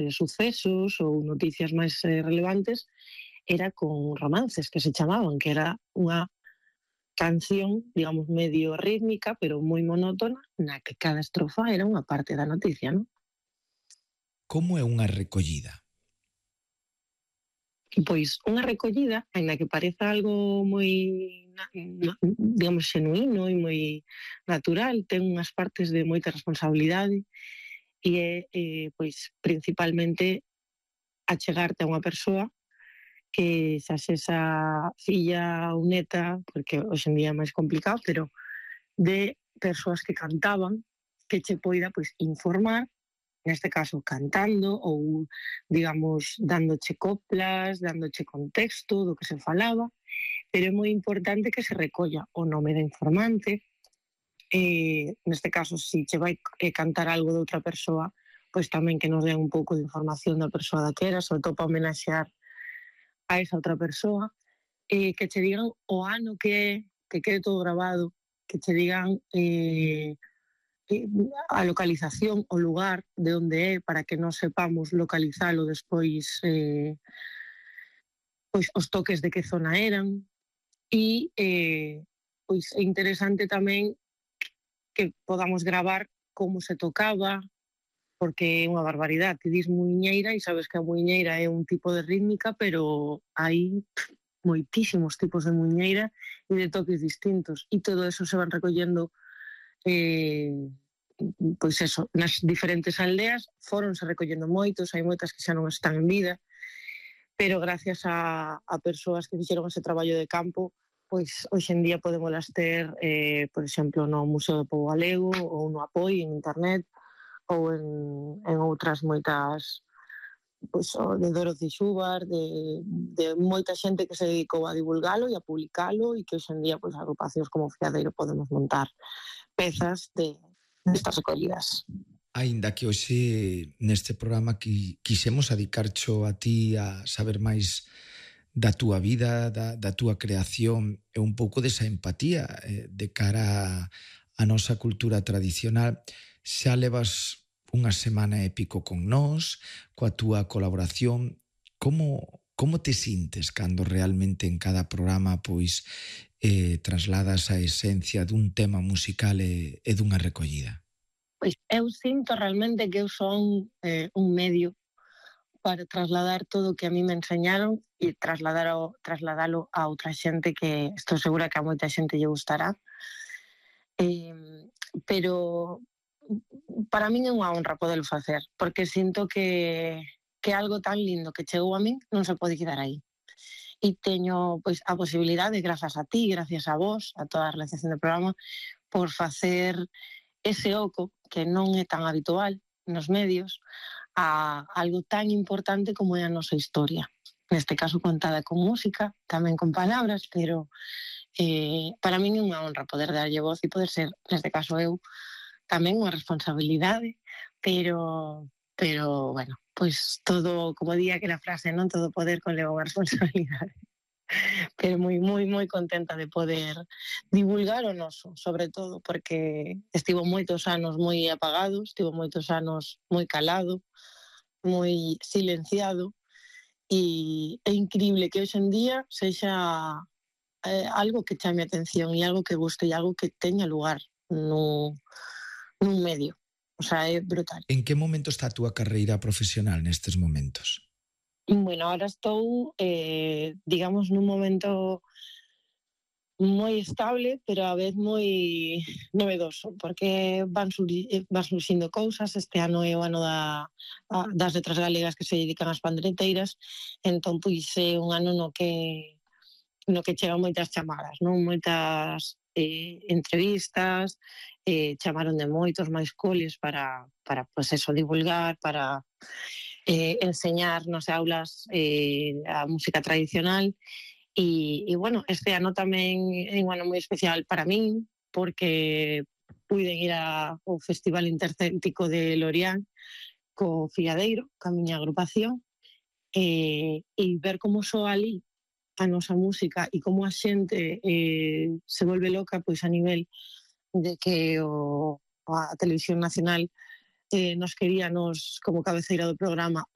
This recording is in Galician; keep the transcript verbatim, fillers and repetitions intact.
eh, sucesos ou noticias máis eh, relevantes, era con romances que se chamaban, que era unha canción, digamos, medio rítmica, pero moi monótona, na que cada estrofa era unha parte da noticia, non? Como é unha recollida? Pois unha recollida, aínda que pareza algo moi, digamos, xenuíno e moi natural, ten unhas partes de moita responsabilidade e é, eh, pois, principalmente achegarte a unha persoa que xa sexa filla ou neta, porque hoxe en día é máis complicado, pero de persoas que cantaban, que che poida, pois, informar, neste caso cantando ou, digamos, dándoche coplas, dándoche contexto do que se falaba, pero é moi importante que se recolla o nome da informante, eh, neste caso, se che vai eh, cantar algo de outra persoa, pois tamén que nos den un pouco de información da persoa daquera, sobre todo para homenaxear a esa outra persoa, eh, que che digan o ano que é, que quede todo grabado, que che digan eh, a localización, o lugar de onde é, para que non sepamos localizalo despois, eh, pois os toques de que zona eran, e eh, pois é interesante tamén que podamos gravar como se tocaba, porque é unha barbaridade. Ti dis muiñeira e sabes que a muiñeira é un tipo de rítmica, pero hai pff, moitísimos tipos de muiñeira e de toques distintos, e todo eso se van recollendo eh, pois eso, nas diferentes aldeas. Foronse recollendo moitos, hai moitas que xa non están en vida, pero gracias a, a persoas que fixeron ese traballo de campo, pois hoxe en día podemos ter, eh, por exemplo, no Museo do Pobo Galego ou no Apoi en internet ou en, en outras moitas, pois, de Dorothy Xubar, de, de moita xente que se dedicou a divulgalo e a publicalo, e que hoxe en día, pois, agrupacións como Fiadeiro podemos montar pezas de estas recollidas. Aínda que hoxe neste programa que quixemos adicarcho a ti a saber máis da túa vida, da, da túa creación e un pouco desa empatía eh, de cara a, a nosa cultura tradicional, xa levas unha semana e pico con nós, coa túa colaboración. Como, como te sintes cando realmente en cada programa pois eh, trasladas a esencia dun tema musical e, e dunha recollida? Pois eu sinto realmente que eu son eh, un medio para trasladar todo o que a mí me enseñaron e trasladar o, trasladalo a outra xente, que estou segura que a moita xente lle gustará. Eh, pero para min é unha honra poderlo facer, porque sinto que, que algo tan lindo que chegou a min non se pode quedar aí. E teño pois a posibilidade, grazas a ti, gracias a vos, a toda a realización do programa, por facer ese oco que non é tan habitual nos medios a algo tan importante como é a nosa historia. Neste caso contada con música, tamén con palabras, pero eh, para min é unha honra poder darlle voz e poder ser, neste caso eu, tamén unha responsabilidade, pero, pero bueno, pois todo, como día que la frase, non todo poder conleva unha responsabilidade. Pero moi, moi, moi contenta de poder divulgar o noso, sobre todo, porque estivo moitos anos moi apagado, estivo moitos anos moi calado, moi silenciado, e é increíble que hoxe en día sexa eh, algo que chame a atención e algo que guste e algo que teña lugar nun, nun medio. O sea, é brutal. En que momento está a túa carreira profesional nestes momentos? Bueno, ahora estou, eh, digamos, nun momento moi estable, pero a vez moi novedoso, porque van, surgi, van surgindo cousas. Este ano é o ano da, das letras galegas que se dedican ás pandereteiras, entón, pois, é un ano no que no que chegan moitas chamadas, non? Moitas eh, entrevistas, eh, chamaron de moitos máis coles para, para pois eso, divulgar, para eh, enseñar nas aulas eh, a música tradicional. E, e bueno, este ano tamén é un ano moi especial para min, porque puiden ir ao Festival Intercéntrico de Lorián co Fiadeiro, ca miña agrupación, e, e ver como soa ali a nosa música e como a xente eh, se volve loca, pois a nivel de que o, a Televisión Nacional eh, nos quería nos como cabeceira do programa